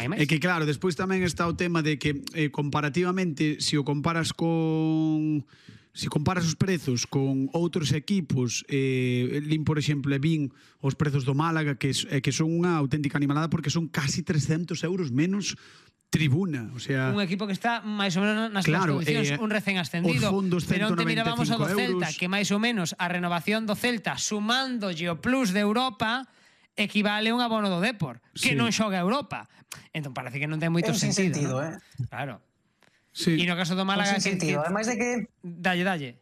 hai máis. É que claro, despois tamén está o tema de que comparativamente, se o comparas con... Se comparas os prezos con outros equipos, lin, por exemplo, vin os prezos do Málaga, que son unha auténtica animalada, porque son casi 300 euros menos tribuna, o sea... Un equipo que está máis ou menos nas claro, condicións, un recén ascendido. Os fondos 195 pero onte mirábamos o do Celta, euros. que máis ou menos a renovación do Celta, sumándolle o plus de Europa, equivale a un abono do Depor, que non xoga a Europa. Entón parece que non ten moito sentido, ¿no? Claro. Sí. E no caso do Málaga... Ademais de que... Dalle.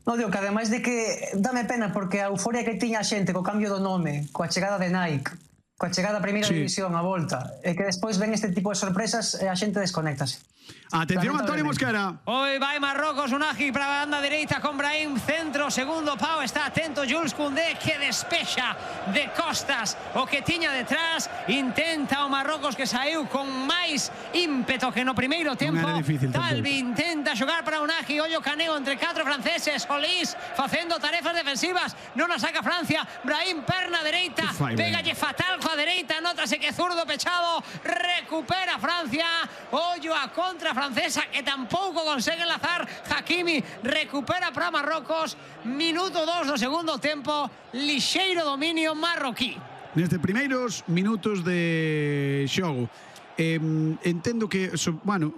Non, digo que ademais de que dame pena porque a euforia que tiña a xente co cambio do nome, coa chegada de Nike, coa chegada a primeira división a volta, e que despois ven este tipo de sorpresas e a xente desconéctase. Atención, Antonio Mosquera. Hoy vai Marrocos, Unagi para a banda dereita con Brahim, centro, segundo pau, está atento Jules Koundé, que despexa de costas o que tiña detrás, intenta o Marrocos que saiu con máis ímpeto que no primeiro tempo. Talvi intenta xogar para Unagi, ollo caneo entre 4 franceses, Solís facendo tarefas defensivas, non a saca Francia, Brahim perna dereita, pégalle fatal coa dereita, nótase que zurdo pechado, recupera Francia, ollo a contra francesa que tampouco consegue enlazar Hakimi, recupera para Marrocos, minuto 2 do segundo tempo, lixeiro dominio marroquí. Nestes primeiros minutos de xogo, entendo que, bueno,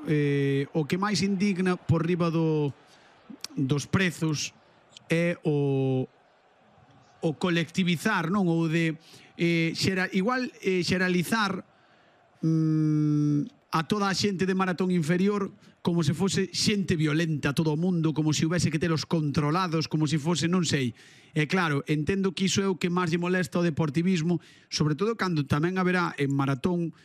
o que máis indigna por riba dos prezos é o colectivizar, non? Ou de xeralizar a toda a xente de maratón inferior como se fose xente violenta, todo o mundo, como se houvese que telos controlados, como se fose, non sei. E claro, entendo que iso é o que máis lle molesta ao deportivismo, sobre todo cando tamén haberá en maratón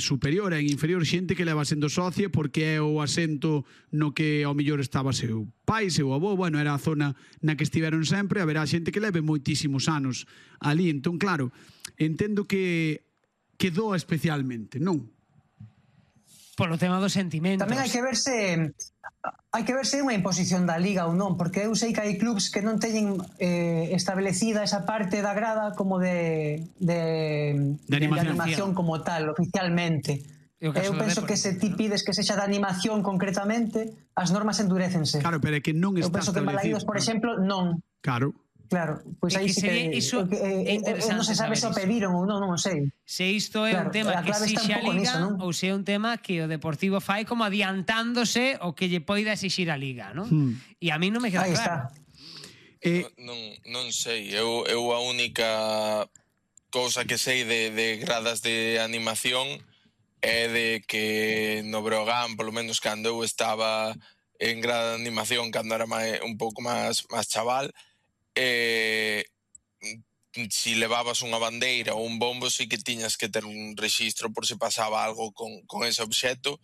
superior e en inferior xente que leva sendo socia porque é o asento no que ao mellor estaba seu pai, seu avó, bueno, era a zona na que estiveron sempre, haberá xente que leve moitísimos anos ali. Entón, claro, entendo que doa especialmente, non? Polo tema dos sentimentos. Tamén hai que verse unha imposición da Liga ou non, porque eu sei que hai clubs que non teñen establecida esa parte da grada como de animación como tal, oficialmente. Eu penso que se ti pides que sexa de animación concretamente, as normas endurécense. Claro, pero é que non está establecido. Eu penso que en Balaídos, por exemplo, non. Claro. Claro, pois aí sí que non se sabe se o pediron ou non, non sei. Se isto é un tema que exixe a Liga ou se é un tema que o Deportivo fai como adiantándose o que lle poida exixir a Liga, non? E a mí non me queda claro. Non sei, eu a única cousa que sei de gradas de animación é de que no Breogán, polo menos cando eu estaba en grada de animación, cando era un pouco máis chaval, si levabas unha bandeira ou un bombo sí que tiñas que ter un rexistro por se pasaba algo con ese obxecto,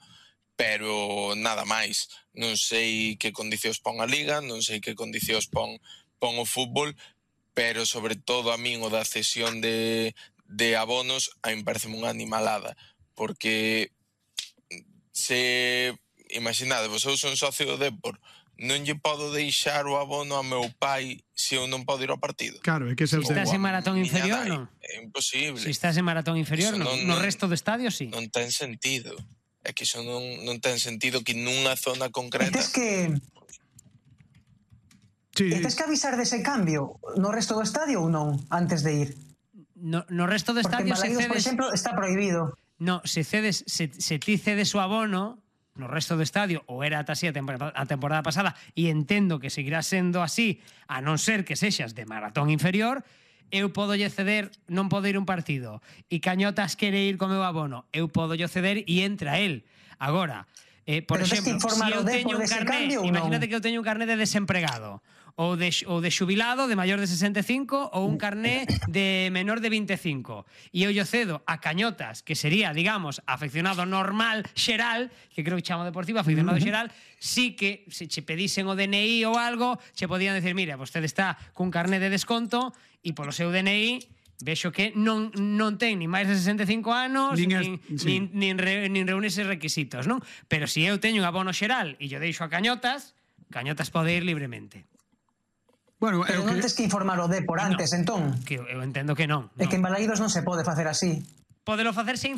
pero nada máis. Non sei que condicións pon a Liga, non sei que condicións pon o fútbol, pero sobre todo a min o da cesión de abonos a min parece unha animalada, porque se imaginadevos, eu son socio do Depor, non lle podo deixar o abono a meu pai se eu non podo ir ao partido. Claro, é que se estás en maratón inferior, non? É imposible. Se estás en maratón inferior, non. No resto do estadio, sí. Non ten sentido. É que iso non ten sentido que nunha zona concreta... E tes que avisar dese cambio no resto do estadio ou non, antes de ir? No resto do estadio se cedes... por exemplo, está prohibido. No, se ti cedes o abono no resto do estadio, ou era ata así a temporada pasada, e entendo que seguirá sendo así, a non ser que sexas de maratón inferior, eu podo lle ceder, non podo ir un partido, e Cañotas quere ir co meu abono, eu podo lle ceder e entra él. Agora, por exemplo, se eu teño un carné, imagínate que eu teño un carné de desempregado, ou de xubilado de maior de 65 ou un carné de menor de 25 e eu lle cedo a Cañotas, que sería, digamos, afeccionado normal xeral, que creo que chamo deportivo afeccionado xeral, sí que se che pedisen o DNI ou algo, che podían decir, mira, vostede está cun carné de desconto e polo seu DNI vexo que non ten ni máis de 65 anos nin reúne eses requisitos, non? Pero se eu teño un abono xeral e yo deixo a Cañotas pode ir libremente. Bueno, pero non tens que informar o Depor antes, entón? Eu entendo que non. É que en Balaídos non se pode facer así. Podelo facer sen